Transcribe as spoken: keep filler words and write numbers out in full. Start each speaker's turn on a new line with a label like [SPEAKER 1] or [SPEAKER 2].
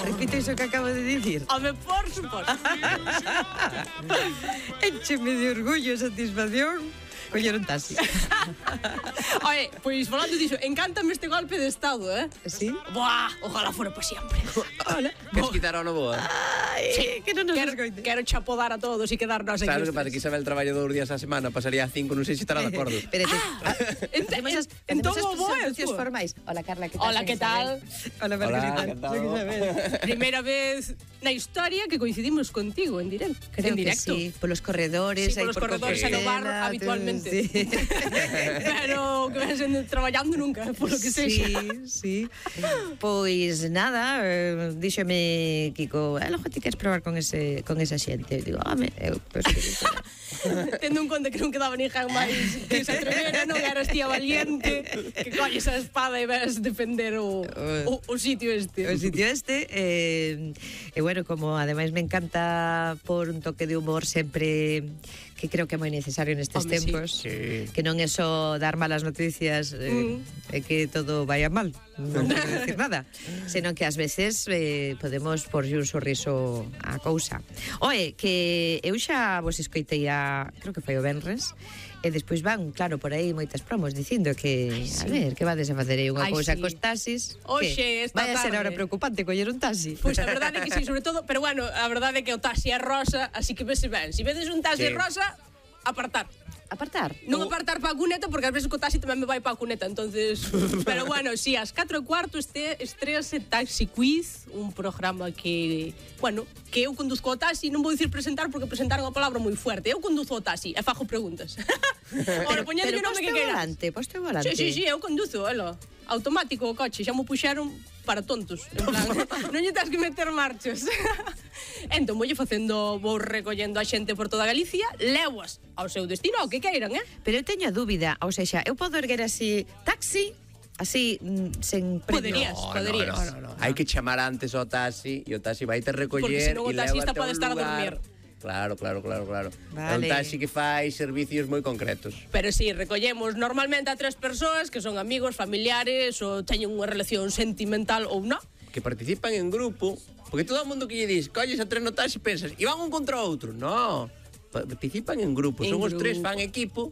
[SPEAKER 1] Repite iso que acabo de dicir.
[SPEAKER 2] Home, por suposto.
[SPEAKER 1] Écheme de orgullo e satisfacción coller un taxi.
[SPEAKER 2] Oye, pois falando diso, encántame este golpe de estado, eh?
[SPEAKER 1] Sí?
[SPEAKER 2] Buah, ojalá fuera para siempre.
[SPEAKER 1] Hola.
[SPEAKER 3] Queres quitar ao novo?
[SPEAKER 1] Ai,
[SPEAKER 2] Sí,
[SPEAKER 1] que non nos
[SPEAKER 2] quero,
[SPEAKER 1] escoite.
[SPEAKER 2] quero chapodar a todos e quedarnos aquí.
[SPEAKER 3] Sabes o que
[SPEAKER 2] os
[SPEAKER 3] pasa?
[SPEAKER 2] tres.
[SPEAKER 3] Que Isabel traballa dous días a semana, pasaría a cinco, non sei se estará de acordo.
[SPEAKER 1] Espérate.
[SPEAKER 2] En-
[SPEAKER 1] Facemos as-
[SPEAKER 2] en-
[SPEAKER 1] facemos
[SPEAKER 2] entón
[SPEAKER 1] as
[SPEAKER 2] o bo é
[SPEAKER 1] presentacións
[SPEAKER 2] tú.
[SPEAKER 1] formais. Hola, Carla, que tal?
[SPEAKER 2] Hola,
[SPEAKER 1] Soy
[SPEAKER 2] que tal?
[SPEAKER 1] Isabel. Hola, Margarita.
[SPEAKER 3] Hola, encantado.
[SPEAKER 1] Soy Isabel.
[SPEAKER 2] Primeira vez na historia que coincidimos contigo en directo.
[SPEAKER 1] Creo
[SPEAKER 2] en
[SPEAKER 1] que
[SPEAKER 2] directo.
[SPEAKER 1] sí, polos corredores,
[SPEAKER 2] Sí,
[SPEAKER 1] aí
[SPEAKER 2] polos
[SPEAKER 1] por
[SPEAKER 2] corredores e no bar
[SPEAKER 1] Compostela,
[SPEAKER 2] habitualmente.
[SPEAKER 1] Sí.
[SPEAKER 2] Pero que ven sendo traballando nunca, polo que sexa.
[SPEAKER 1] Sí, sí. Pois nada, eh, díxome Kiko, eh, logo ti queres probar con ese con esa xente. Eu digo, home, eu penso que sí.
[SPEAKER 2] Tendo en conta que non quedaba ninguén máis que se atrevera, non eras tía valiente, que colles a espada e vas defender o, o, o sitio este.
[SPEAKER 1] O sitio este eh, e bueno, como ademais me encanta por un toque de humor sempre que creo que é moi necesario nestes
[SPEAKER 2] Home, sí.
[SPEAKER 1] tempos,
[SPEAKER 3] Sí.
[SPEAKER 1] que non é só dar malas noticias eh,
[SPEAKER 2] Mm.
[SPEAKER 1] e que todo vaya mal, non quero decir nada, senón que ás veces eh, podemos porlle un sorriso á cousa. Oe, que eu xa vos escoitei a, creo que foi o venres, e despois van, claro, por aí moitas promos dicindo que,
[SPEAKER 2] Ai, sí.
[SPEAKER 1] a ver, que vades a facer aí unha
[SPEAKER 2] Ai,
[SPEAKER 1] cousa
[SPEAKER 2] sí.
[SPEAKER 1] cos taxis.
[SPEAKER 2] Oxe,
[SPEAKER 1] que
[SPEAKER 2] esta
[SPEAKER 1] vai a ser
[SPEAKER 2] tarde.
[SPEAKER 1] ahora preocupante coller un taxi.
[SPEAKER 2] Pois a verdade é que sí, sobre todo, pero bueno, a verdade é que o taxi é rosa, así que vese ben. Se vedes un taxi
[SPEAKER 3] Sí.
[SPEAKER 2] rosa, apartar.
[SPEAKER 1] Apartar.
[SPEAKER 2] Non apartar para a cuneta, porque ás veces co taxi tamén me vai para a cuneta, entonces... Pero bueno, si, sí, ás catro e cuarto este, estrease Taxi Quiz, un programa que, bueno, que eu conduzco o taxi, non vou dicir presentar porque presentaron a palabra moi fuerte. Eu conduzo o taxi e fago preguntas. Ora, poñedelle o nome que
[SPEAKER 1] poste o
[SPEAKER 2] queiras.
[SPEAKER 1] volante, poste o volante.
[SPEAKER 2] Sí, sí, sí, eu conduzo, elo. Automático o coche, xa mo puxeron para tontos. En plan, non lle tens que meter marchas. Entón, voulle facendo, vou recollendo a xente por toda Galicia, levoas ao seu destino, ao que queiran, eh?
[SPEAKER 1] Pero eu teño a dúbida, ou seja, eu podo erguer así taxi, así, mm, sen premio.
[SPEAKER 2] Poderías, poderías.
[SPEAKER 3] No, no, no, no. Hai que chamar antes ao taxi e o taxi vai te recoller
[SPEAKER 2] Porque senón o
[SPEAKER 3] e
[SPEAKER 2] taxista
[SPEAKER 3] lévate a
[SPEAKER 2] pode
[SPEAKER 3] un
[SPEAKER 2] estar a
[SPEAKER 3] lugar.
[SPEAKER 2] dormir.
[SPEAKER 3] Claro, claro, claro, claro. É un
[SPEAKER 1] Vale.
[SPEAKER 3] taxi que fai servicios moi concretos.
[SPEAKER 2] Pero sí, recollemos normalmente a tres persoas que son amigos, familiares ou teñen unha relación sentimental ou non.
[SPEAKER 3] Que participan en grupo, porque todo o mundo que lle dis, colles a tres no taxi e pensas, e van un contra outro. No, participan en grupo,
[SPEAKER 2] En
[SPEAKER 3] son os tres,
[SPEAKER 2] grupo.
[SPEAKER 3] fan equipo